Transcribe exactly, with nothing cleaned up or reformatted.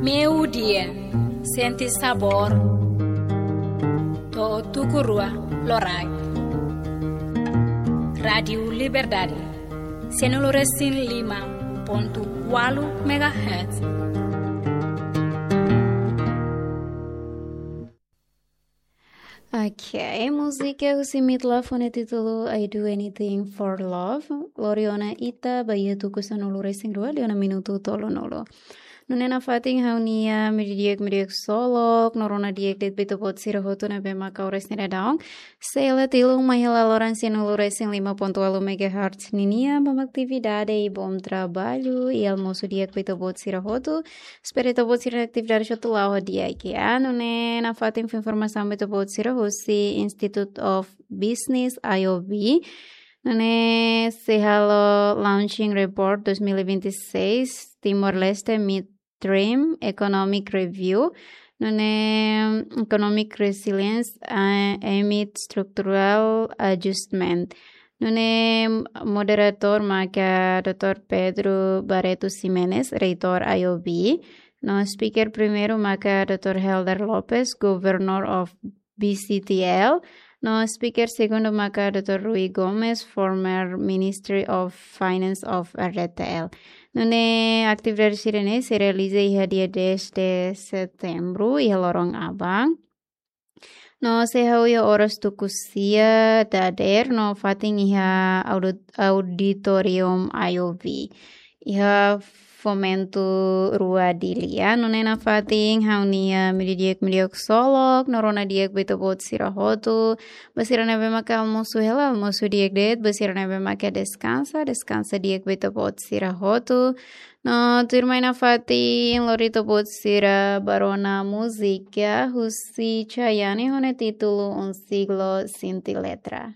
Meiudia, sente sabór. To'o tuku rua loraik. Rádiu Liberdade, sanulu-resin-lima pontu ualu megahertz. Ok, múzika husi Meatloaf ho nia títulu I Do Anything for Love. Lori ona ita ba iha tuku sanulu-resin-rua, liu ona minutu tolunulu. Nune'e nafatin ha'u-nia meiudia di'ak, meiudia di'ak ksolok, no rona di'ak de'it ba ita-boot sira hotu ne'ebé maka oras ne'e daudaun sei hela tilun mai hela loron sanulu-resin-lima pontu ualu megahertz ninia. Bom atividade i bom trabalho i almosu di'ak ba ita-boot sira hotu. Espera ita-boot sira-nia atividade hotu la'o ho di'ak, ya. Nune'e nafatin fó informasaun ba ita-boot sira husi Institute of Business, I O B. Nune'e sei halo Launching Report dois mil e vinte e seis, Timor-Leste Midterm Economic Review. Nune'e Economic Resilience, eh, amid Structural Adjustment. Nune'e moderatór maka doutór Pedro Barreto Ximenes, reitór I O B. No speaker primeiru maka doutór Helder Lopes, Governor of B C T L. No speaker segundu maka doutór Rui Gomes, former Ministry of Finance of R D T L. Nune'e atividade sira-ne'e sei realiza iha dia dez de setembro, iha loron aban. No sei hahú iha oras tuku sia dadeer, no fatin iha audit-, auditorium I O B. Iha Fomento rua Dili, ya. Nune'e nafatin ha'u-nia meiudia di'ak, meiudia di'ak ksolok, no rona di'ak ba ita-boot sira hotu. Ba sira ne'ebé maka almosu hela, almosu di'ak de'it. Ba sira ne'ebé maka deskansa, deskansa di'ak ba ita-boot sira hotu. No tuirmai nafatin lori ita-boot sira ba rona múzika husi Chayanne ho nia títulu Un Siglo Sin Ti Letra.